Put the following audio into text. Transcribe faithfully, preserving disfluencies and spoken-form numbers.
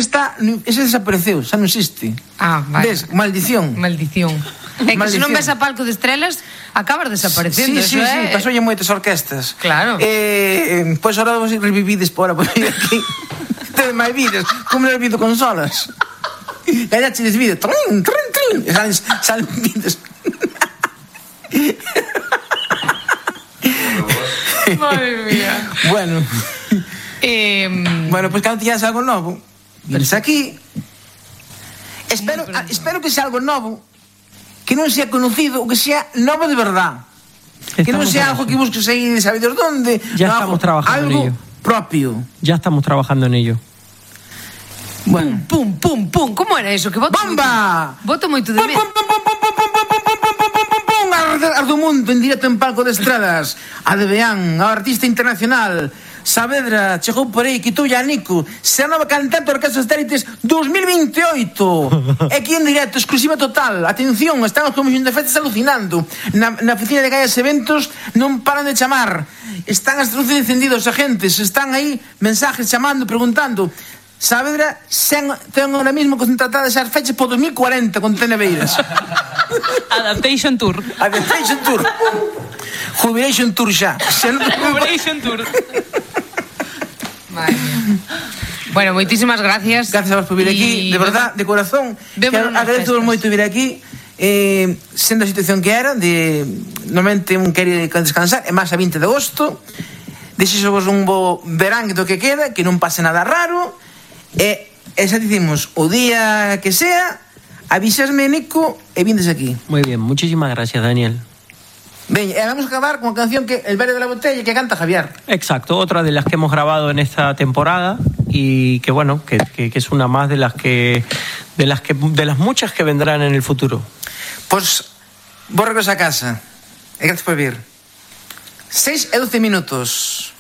está, ese desapareceu, xa non existe. Ah, vale. Ves, maldición. Maldición. É que se non ves a Palco de Estrelas, acabas desaparecendo. Sí, sí, sí, é... pasoulle moitas orquestas. Claro. Eh, pois ahora vos revivides por ahora, por aquí. Tedes máis vidas, como non vido consolas. Gallache des vidas, trin, trin, trin, e salen, salen vidas. Madre mía. Bueno. Eh, bueno, pois pues, cando tiñas algo novo, vienes aquí. Espero, a, espero que sea algo novo, que non sea conocido, ou que sea novo de verdad. Estamos que non sea algo que busques aí de saber dónde. Ya no, estamos trabajando algo en ello. Propio. Ya estamos trabajando en ello. Bueno. Pum, pum, pum, pum. ¿Cómo era eso? Que voto ¡bomba! Moito, voto moito de pum, pum, pum, pum, pum, pum, pum, pum, pum, pum, pum, pum, pum, Ardo mundo en directo en Palco de Estradas. A de Beán, a artista internacional. Saavedra chegou por aí, quitou a Nico. Se a nova cantante Orquestra Estélites dos mil veintioito. É aquí en directo, exclusiva total. Atención, están os comisión de festas alucinando. Na, na oficina de Gallas Eventos non paran de chamar. Están as luces encendidas, os agentes. Están aí mensajes chamando, preguntando. Saavedra sen, ten ahora mismo contratadas as fechas por dos mil cuarenta con Tenebeiras. Adaptation Tour. Adaptation Tour. Jubilation Tour xa. Jubilation Tour. Vale. Bueno, moitísimas gracias. Gracias a vos por vir aquí, de verdad, de corazón. Agradezo moito vir aquí. Eh, sendo a situación que era, de normalmente un quere descansar, é máis a vinte de agosto. Desexo vos un bo verán do que queda, que non pase nada raro. E, e xa dicimos, o día que sea, avisasme, Nico, e vindes aquí. Muy bien, muchísimas gracias, Daniel. Ven, e vamos a acabar con a canción que El Verde de la Botella, que canta Javier. Exacto, otra de las que hemos grabado en esta temporada y que bueno, que, que, que es una más de las que de las que de las muchas que vendrán en el futuro. Pues vos regreso a casa. E gracias por vir. seis e doce minutos.